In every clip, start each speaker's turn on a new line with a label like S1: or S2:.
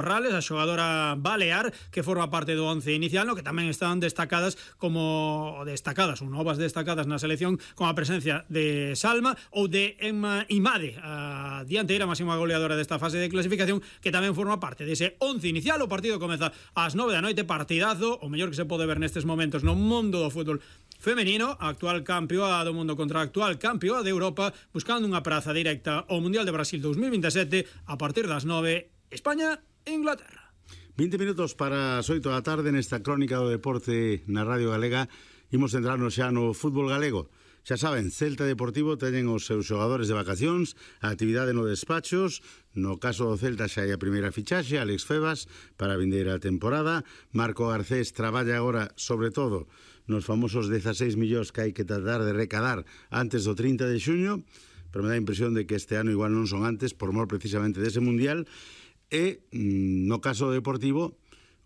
S1: Rales, a xogadora balear que forma parte do 11 inicial, no que tamén están destacadas ou novas destacadas na selección, con a presencia de Salma ou de Emma Imade, a dianteira máxima goleadora desta fase de clasificación, que tamén forma parte dese 11 inicial. O partido comeza ás 9 da noite, partidazo, o mellor que se pode ver nestes momentos no mundo do fútbol femenino, a actual campeoa do mundo contra a actual campeoa de Europa, buscando unha praza directa ao Mundial de Brasil 2027 a partir das 9, España Inglaterra.
S2: 20 minutos para as 8 da tarde nesta crónica do deporte na Radio Galega. Imos centrarnos xa no fútbol galego. Xa saben, Celta Deportivo teñen os seus xogadores de vacacións, a actividade no despachos. No caso do Celta xa hai a primeira fichaxe, Alex Febas, para a vindeira temporada. Marco Garcés traballa agora, sobre todo, nos famosos 16 millóns que hai que tratar de recadar antes do 30 de xuño, pero me dá a impresión de que este ano igual non son antes, por mor precisamente dese Mundial. E, no caso deportivo,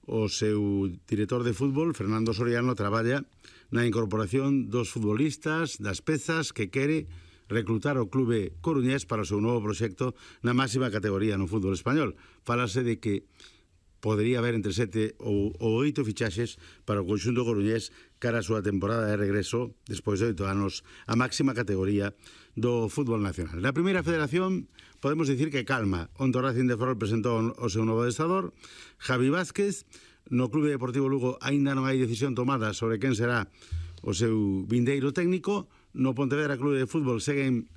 S2: o seu director de fútbol, Fernando Soriano, traballa na incorporación dos futbolistas, das pezas que quere reclutar o clube coruñés para o seu novo proxecto na máxima categoría no fútbol español. Fálase de que podería haber entre 7 ou 8 fichaxes para o conxunto coruñés cara a súa temporada de regreso despois de 8 anos a máxima categoría do fútbol nacional. Na primeira federación podemos dicir que calma. Onte o Racing de Ferrol presentou o seu novo adestrador, Javi Vázquez. No Clube Deportivo Lugo aínda non hai decisión tomada sobre quen será o seu vindeiro técnico. No Pontevedra Clube de Fútbol seguen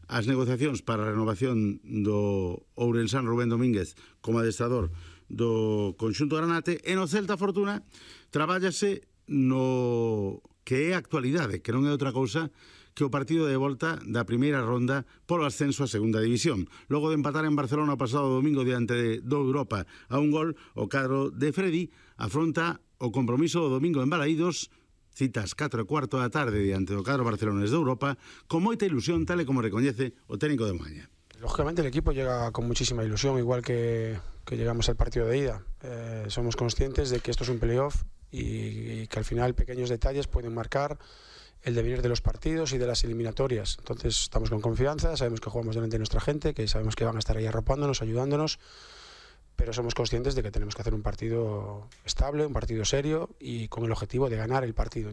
S2: as negociacións para a renovación do ourensán Rubén Domínguez como adestrador do conxunto granate. E no Celta Fortuna trabállase no que é a actualidade, que non é outra cousa que o partido de volta da primeira ronda polo ascenso a segunda división. Logo de empatar en Barcelona o pasado domingo diante do Europa a un gol, o cadro de Freddy afronta o compromiso do domingo en Balaídos, citas 4:15 da tarde diante do cadro barcelonés de Europa, con moita ilusión, tal e como recoñece o técnico de Moaña.
S3: Lógicamente el equipo llega con muchísima ilusión, igual que llegamos al partido de ida. Somos conscientes de que esto es un playoff y que al final pequeños detalles pueden marcar el devenir de los partidos y de las eliminatorias. Entonces estamos con confianza, sabemos que jugamos delante de nuestra gente, que sabemos que van a estar ahí arropándonos, ayudándonos, pero somos conscientes de que tenemos que hacer un partido estable, un partido serio y con el objetivo de ganar el partido.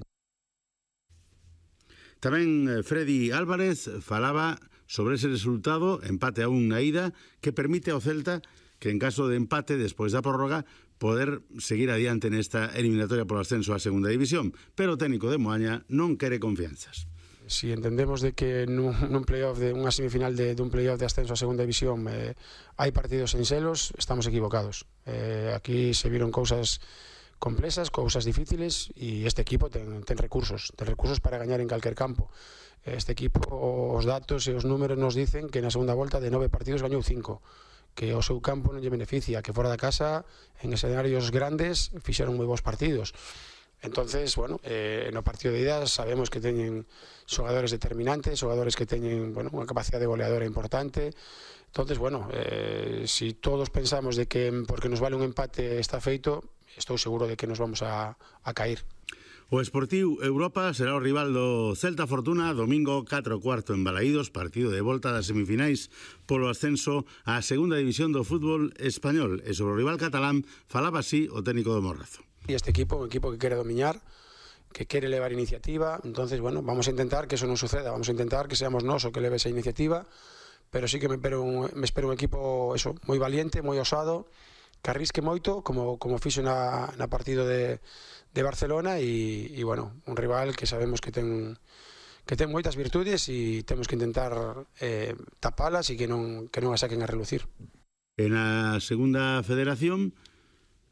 S2: Tamén Freddy Álvarez falaba sobre ese resultado, empate a 1 na ida, que permite ao Celta que en caso de empate despois da prórroga poder seguir adiante nesta eliminatoria por ascenso a segunda división, pero o técnico de Moaña non quere confianzas.
S3: Si entendemos de que nun playoff de unha semifinal de un playoff de ascenso a segunda división hai partidos en selos, estamos equivocados. Aquí se viron cousas complexas, cousas difíciles, e este equipo ten recursos para gañar en calquer campo. Este equipo, os datos e os números nos dicen que na segunda volta de 9 partidos gañou 5, que o seu campo non lle beneficia, que fora da casa, en escenarios grandes, fixeron moi bons partidos. Entonces, bueno, no partido de ida sabemos que teñen xogadores determinantes, xogadores que teñen, bueno, unha capacidade goleadora importante. Entonces, bueno, si todos pensamos de que porque nos vale un empate está feito, estou seguro de que nos vamos a caer.
S2: O Sportiu Europa será o rival do Celta Fortuna domingo 4:15 en Balaídos, partido de volta das semifinais polo ascenso á segunda división do fútbol español. E sobre o rival catalán falaba así o técnico do Morrazo.
S3: E este equipo, un equipo que quere dominar, que quere levar iniciativa. Entonces, bueno, vamos a intentar que eso non suceda, vamos a intentar que seamos nós o que leve esa iniciativa, pero sí que me espero un equipo moi valiente, moi osado, que arrisque moito, como fixo na partido de Barcelona, e bueno, un rival que sabemos que ten moitas virtudes e temos que intentar tapalas e que non a saquen a relucir.
S2: En a segunda federación,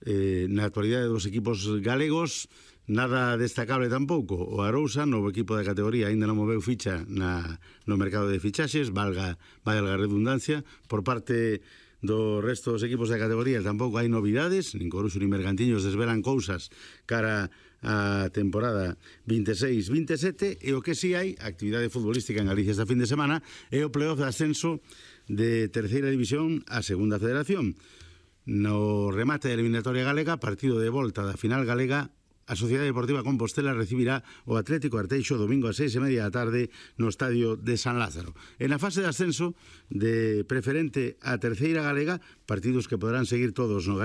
S2: na actualidade dos equipos galegos, nada destacable tampouco. O Arousa, novo equipo de categoría, aínda non moveu ficha no mercado de fichaxes, valga a redundancia. Por parte do resto dos equipos de categoría tampouco hai novidades, nin Coruxo nin Bergantiños desvelan cousas cara a temporada 26-27, e o que si hai, actividade futbolística en Galicia esta fin de semana, é o playoff de ascenso de terceira división a segunda federación. No remate da eliminatoria galega, partido de volta da final galega, a Sociedade Deportiva Compostela recibirá o Atlético Arteixo domingo a 6:30 da tarde no estadio de San Lázaro. En a fase de ascenso de preferente a terceira galega, partidos que poderán seguir todos no Galicia.